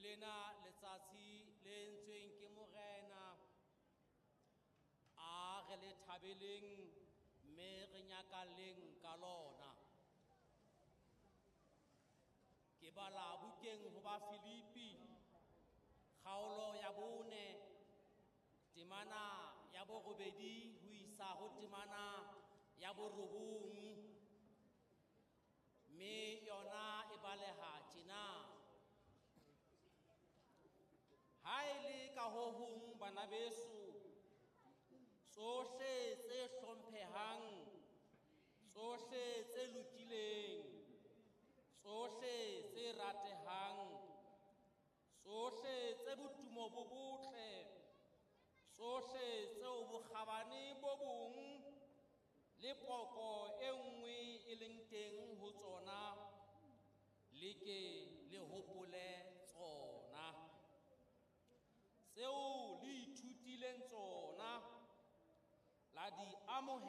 Ke lena letsatsi le entsweng ke Morena, a re le thabeleng mme re nyakalleng ka lona. Ke bala bukeng ho ba Filipi, kgaolo ya 4, temana ya 8 ho isa ho temana ya 9, mme yona e baleha tjena: Ha e le ka ho hong, bana beso, tsohle tse hlomphehang, tsohle tse lokileng, tsohle tse ratehang, tsohle tse botumo bo botle, tsohle tseo bokgabane bo bong le poko e nngwe e leng teng ho tsona, le ke le hopole tsona. Tseo le ithutileng tsona, la di amohela.